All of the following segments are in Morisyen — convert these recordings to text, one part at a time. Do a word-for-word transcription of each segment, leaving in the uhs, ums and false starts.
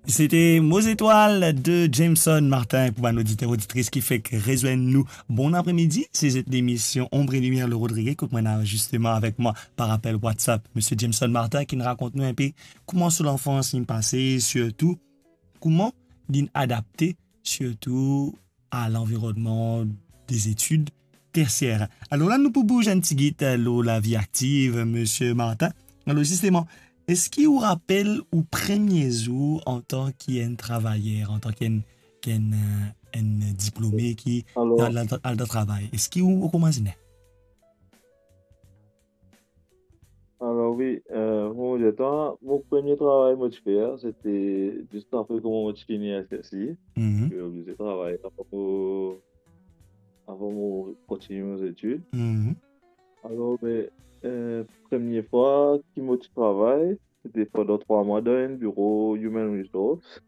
Sete Mo Zetwal de Jameson Martin. Pou bann oditer, oditris ki fek rezwenn nou, bon apremidi. Se zot lemision Ombre Limier, le Rodriguez, kot mwa ena zisteman avek mwa par apel WhatsApp Misie Jameson Martin, ki rakont nou inpe kouma so lanfans inn pase, sirtou kouma linn adapte, sirtou a lanvironnman de zetid tersier. Alor la, nou pou bouz enn tigit, eh, lor lavi aktiv, Misie Martin. Alor zisteman, eski ou rapel ou premie zour antan ki enn travayer, antan ki enn, ki enn, eh, enn diplome ki Alor, al, al, al dan travay? Eski ou, ou koumans inn? Alor wi, eh, mo dir twa, mo premie travay mo ti fer, sete zis apre kouma mo ti fini S S I. Mhm. Mo ti oblize travay avan mo, avan mo kontinie mo zetid. Mhm. Alor, be, eh, premie fwa ki mo ti travay, sete pandan trwa mwa dan enn biro Human Resource.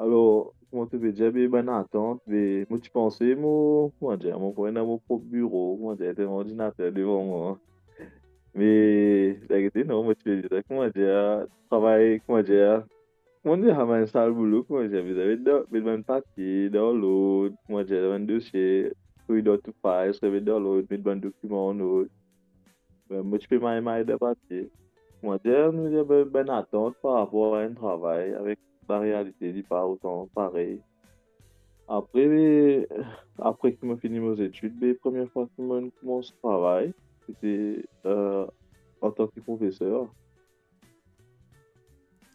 Alor, kouma to pe dir, be bann atant, be mo ti panse mo, kouma dir, mo pou ena mo prop biro, kouma dir, ena enn ordinater devan mwa. Me, verite non, mo ti pe dir, kouma dir, travay, kouma dir, kouma dir, sa bann sal boulo, kouma dir, bizin met dan, met bann papie dan lord, kouma dir, bann dosie, touy dan tou fay, remet dan lord, met bann dokiman an lord. Be, mo ti pe may may dan papie. Kouma dir, nou dir, be, bann atant par rapor a enn travay avek larealite, li pa otan parey. Apre, be, apre ki mo fini mo zetid, be, premie fwa ki mo koumans travay, sete, eh, antan ki profeser.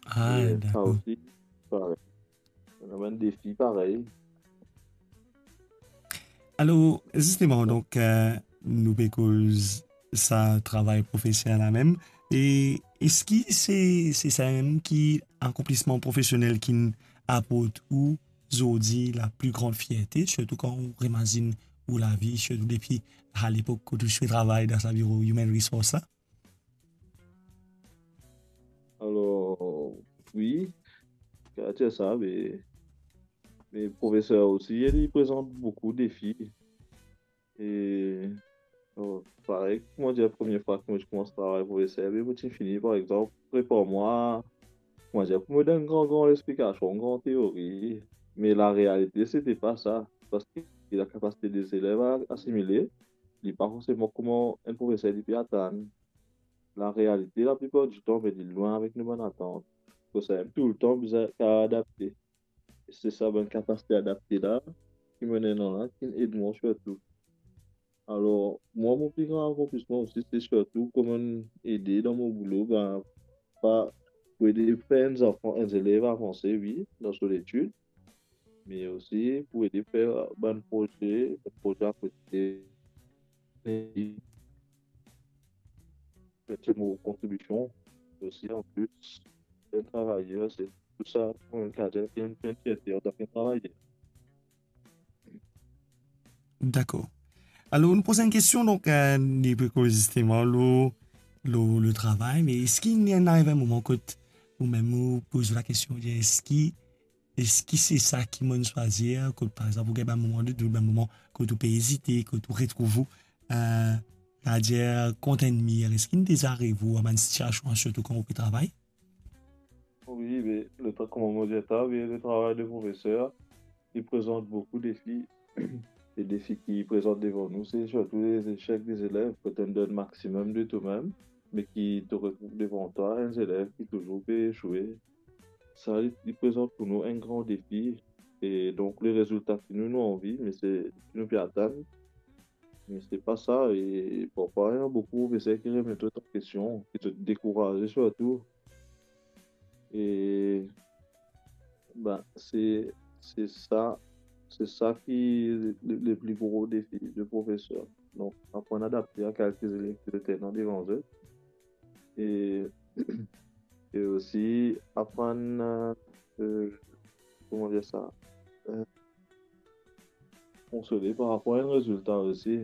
Ah, e sa dakor. Osi, parey. Ena bann defi parey. Alor, zisteman, donk, eh, nou pe koz sa travay profeser la mem. E eski se, se sa mem ki akonplisman profesionel ki'nn aport ou zordi la pli gran fierte, sirtou kan ou remazinn ou lavi, sirtou depi a lepok kot ou ti pe travay dan sa biro Human Resource la? Alor, wi, kapav dir sa, me, me profeser osi, li prezant boukou defi. E, bon, parey, kouma dir, premie fwa ki mo ti koumans travay profeser, be mo ti fini, par exanp, prepar mwa, kouma dir, pou mo donn gran, gran lexplikasion, gran teori. Me larealite, sete pa sa, parski lakapasite de zelev a asimile, li pa forseman kouma enn profeser li pe atann. Larealite, laplipar ditan, be li lwin avek nou bann atant. Koumsa, toultan bizin kapav adapte. E se sa bann kapasite adapte la, ki mo ena la, ki'nn ed mwa sirtou. Alor, mwa, mo pli gran akonplisman osi, se sirtou kouma ede dan mo boulo, ben, pa, pou ede fer enn zanfan, enn zelev avanse, wi, dan so letid, me osi pou ede fer bann proze, bann proze akote. E met mo kontribision osi, anplis, enn travayer, se tou sa, pou enn kader, enn, enn fierte antan ki enn travayer. Dakor. Alor, nou poz enn kestion, donk, eh, li pe koz zisteman lor, lor, lor travay, me eski inn ariv enn moman kot ou mem ou poz ou lakestion, dir, eski, eski se sa ki mo'nn swazir, kot, par exanp, ou gagn bann moman de dout, bann moman kot ou pe ezite, kot ou retrouv ou, eh, kapav dir, kont enn mir, eski inn deza ariv ou dan bann sitiasion, sirtou kan ou pe travay? Wi, be, le tra-, kouma mo dir twa, wi, le travay de profeser, li prezant boukou defi. Le defi ki prezant devan nou, se sirtou lezesek de zelev, kot to'nn donn maximum de to mem, me ki to retrouv devan twa enn zelev ki touzour pe esoue. Sa, li, li prezant pou nou enn gran defi. E donk, le rezilta ki nou, nou anvi, me se, ki nou pe atann, me se pa sa. E parfwa, ena boukou profeser ki remet zot an kestion, ki zot dekouraze sirtou. E, ben, se, se sa, se sa ki le, le pli gro defi de profeser. Donk, aprann adapte a kalite zelev ki zot ena devan zot. E, e osi aprann, eh, kouma dir sa, eh, konsole par rapor a enn rezilta osi.